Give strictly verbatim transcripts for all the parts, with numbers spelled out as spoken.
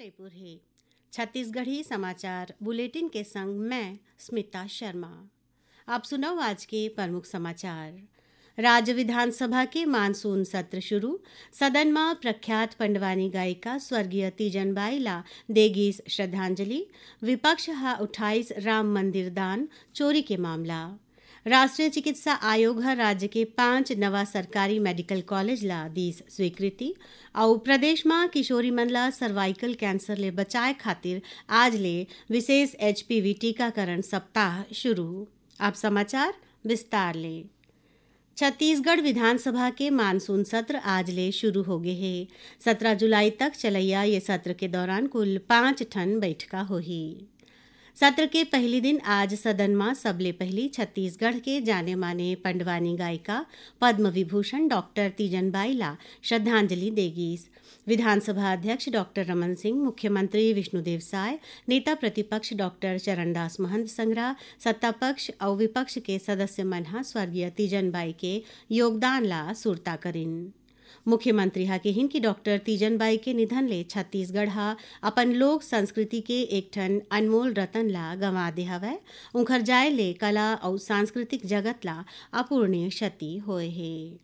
जयपुर हे। छत्तीसगढ़ी समाचार बुलेटिन के संग मैं स्मिता शर्मा। आप सुनव आज के प्रमुख समाचार। राज्य विधानसभा के मानसून सत्र शुरू, सदन म प्रख्यात पंडवानी गायिका स्वर्गीय तीजन बाई ला देगिस श्रद्धांजलि, विपक्ष ह उठाइस राम मंदिर दान चोरी के मामला। राष्ट्रीय चिकित्सा आयोग ह राज्य के पांच नवा सरकारी मेडिकल कॉलेज ला दीस स्वीकृति, अउ प्रदेश म किशोरी मन ला सर्वाइकल कैंसर ले बचाए खातिर आज ले विशेष एचपीवी टीकाकरण सप्ताह शुरू। अब समाचार विस्तार ले। छत्तीसगढ़ विधानसभा के मानसून सत्र आज ले शुरू हो गे हे। सत्रह जुलाई तक चलैया ये सत्र के दौरान कुल पांच ठन बैठका होही। सत्र के पहली दिन आज सदन म सबले पहली छत्तीसगढ़ के जाने माने पंडवानी गायिका पद्म विभूषण डॉक्टर तीजन बाई ला श्रद्धांजलि दे गीस। विधानसभा अध्यक्ष डॉक्टर रमन सिंह, मुख्यमंत्री विष्णुदेव साय, नेता प्रतिपक्ष डॉक्टर चरणदास महंत संघरा, सत्ता पक्ष अउ विपक्ष के सदस्य मन ह स्वर्गीय तीजन बाई के योगदान ला सुरता करिन। मुख्यमंत्री ह किहिन कि डॉक्टर तीजन बाई के निधन ले छत्तीसगढ़ ह अपन लोक संस्कृति के एक ठन अनमोल रतन ला गंवा दे हवय। उंखर जाय ले कला अउ सांस्कृतिक जगत ला अपूरणीय क्षति होय हे।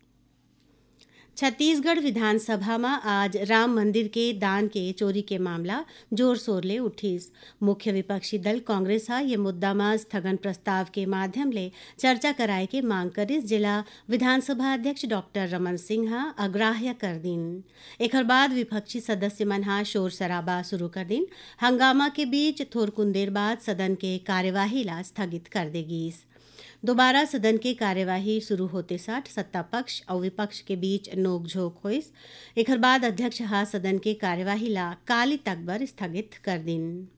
छत्तीसगढ़ विधानसभा म आज राम मंदिर के दान के चोरी के मामला जोर-शोर ले उठिस। मुख्य विपक्षी दल कांग्रेस ह ये मुद्दा म स्थगन प्रस्ताव के माध्यम ले चर्चा कराए के मांग करिस, जेला विधानसभा अध्यक्ष डॉक्टर रमन सिंह ह अग्राह्य कर दिन। एखर बाद विपक्षी सदस्य मन ह शोर-शराबा शुरू कर दिन। हंगामा के बीच थोरकुन देर बाद सदन के कार्यवाही ला स्थगित कर दे गीस। दोबारा सदन के कार्यवाही शुरू होते साठ सत्ता पक्ष अउ विपक्ष के बीच नोकझोंक होइस। एखर बाद अध्यक्ष ह सदन के कार्यवाही ला काली तक बर स्थगित कर दिन।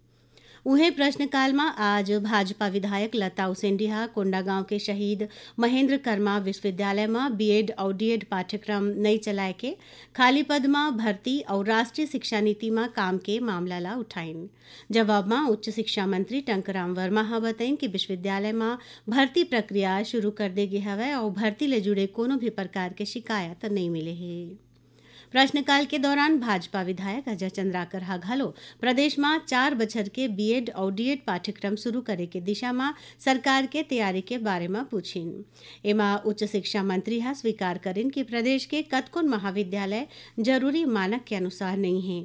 उहें, प्रश्नकाल म आज भाजपा विधायक लता उसेंडी ह कोंडागांव के शहीद महेंद्र कर्मा विश्वविद्यालय म बीएड अउ डीएड पाठ्यक्रम नइ चलाए के, खाली पद म भर्ती अउ राष्ट्रीय शिक्षा नीति म काम के मामला ला उठाइन। जवाब म उच्च शिक्षा मंत्री टंकराम वर्मा ह बतइन कि विश्वविद्यालय म भर्ती प्रक्रिया शुरू कर दे गे हवय अउ भर्ती ले जुड़े कोनो भी प्रकार के शिकायत नइ मिले हे। प्रश्नकाल के दौरान भाजपा विधायक अजय चंद्राकर ह घलो प्रदेश म चार बछर के बीएड अउ डीएड पाठ्यक्रम शुरू करे के दिशा म सरकार के तैयारी के बारे म पूछिन। एमा उच्च शिक्षा मंत्री ह स्वीकार करिन कि प्रदेश के कतकोन महाविद्यालय जरूरी मानक के अनुसार नइ हे।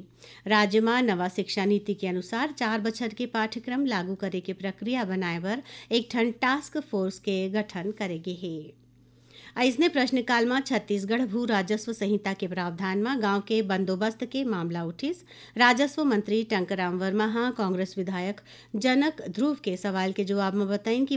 राज्य म नवा शिक्षा नीति के अनुसार चार बछर के पाठ्यक्रम लागू करे के प्रक्रिया बनाए बर एक ठन टास्क फोर्स के गठन करे गे हे। अइसने प्रश्नकाल म छत्तीसगढ़ भू राजस्व संहिता के प्रावधान म गांव के बंदोबस्त के मामला उठिस। राजस्व मंत्री टंकराम वर्मा ह कांग्रेस विधायक जनक ध्रुव के सवाल के जवाब म बताइन कि